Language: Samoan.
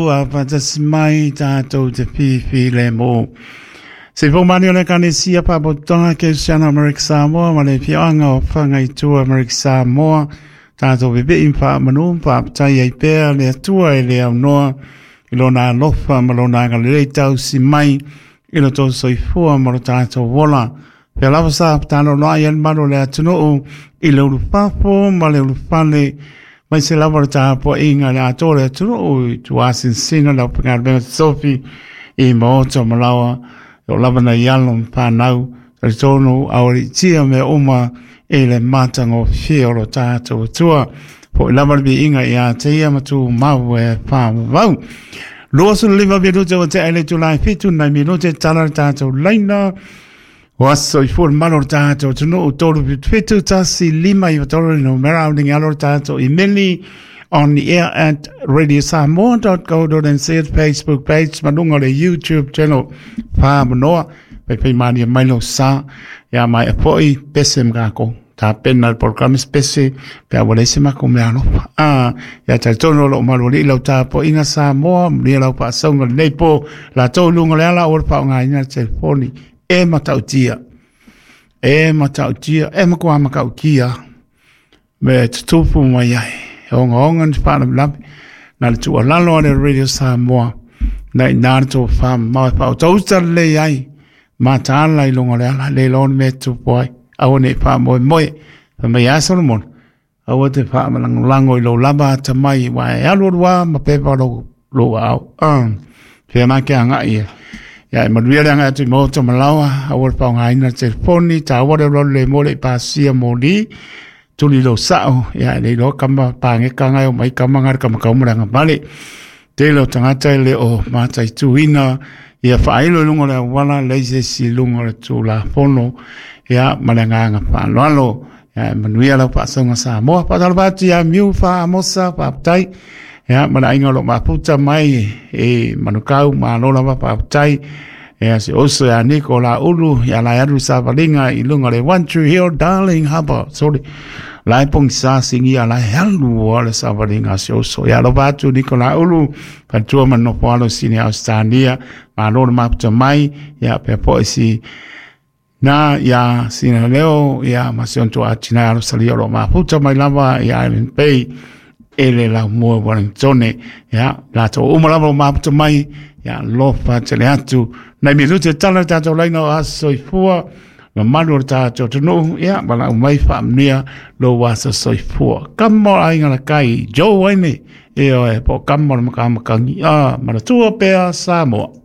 Ua faatasi mai tatou te filemu. Se fou mani o le Ekalesia Faapotopotoga Kerisiano Amerika Samoa ma le afioaga o Fagaitua Amerika Samoa, tatou vevei ma faamanu ma faafetai ai pea le Atua e le aunoa i lona alofa ma lona agalelei tausi mai i lo tou soifua ma lo tatou ola. Pea lava sa fetalaloai ai le malu o le atunuu i le ulufafo ma le ulufale, mai se lava le tapuaiga i le atoa o le atunuu i tuasinsina le aufaigaluega totofi i maota ma laoa, o lava nai alo ma fanau, talitonu aualiitia mea uma i le matagofie o lo tatou Atua. Foi lava le viiga ia te ia ma tumau e faavavau. 25 minute ua tea i le itula e 7 nai minute tala le tatou laina. Ua soifua le malu o le tatou atunuu 377 1 5 9 3 le numera au alo le tatou imeli ontheair@radiosamoa.co.nz, Facebook page ma luga o le YouTube channel whaamanoa pai malia mai lo sa ia mai a poi pese ma kākou tapena le polokalame spese pe a ua leai se makou mea alofa. A ia talitonu o loo malualii lau tapuaiga Samoa, manuia lau faasauga lenei po latou luga o le ala o le faaaogaina le telefoni e matautia e matautia e matua matautia me tutupu mai ai e ogaoga ni faalavelave na le tuualalo a le Radio Samoa na ina le tofamamao e faautauta lelei ai mataala i luga o le ala le iloa le mea e tupu ai aua nei faamoemoe. Fai mai a Solomona, aua te faamalagolago i lou lava atamai ua e alu alu a ma pepa lou lou aao fea na ke agai e ia e manuia le agai atu i maota ma laoa. Aua le faaaogaina le telefoni taua le alualu le mo le i pasia moli tuli lou sao ia e le iloa kama pageka ngai o mai kama ngai le kama kauma le agavale tele o tagata e le o mataituina ia faailo i luga o le auala leai se isi i luga o le Tulafono ia ma le agaga faaaloalo. Ia e manuia lau faasauga Samoa. Faatalofa atu ia Miu Faamosa, faafetai ia ma le aiga o lo o mafuta mai e Manukau, malo lava faafetai. Ia se oso ia Niko la ulu ia la alu savaliga i luga o le One Tree Hill, Darling Harbour, sorry, la e pogisa singia la e alu o le savaliga se oso ia alofa atu Niko la ulu faletua ma nofo alo sini Australia, malo le mafuta mai ia pea po si na ia sina leo ia ma se onto atina alo salia o lo mafuta mai lava ia Island Bay e le lau mua Wellington ia latou uma lava o mafuta mai ia lofa tele atu nai minute tala le tatou laina o aso soifua mamalu o le tatou atunuu ia walau mai faamanuia lou aso soifua. Kama o aiga la kai Joe Waine e oe po kama o le makamakagi a manatua pea Samoa.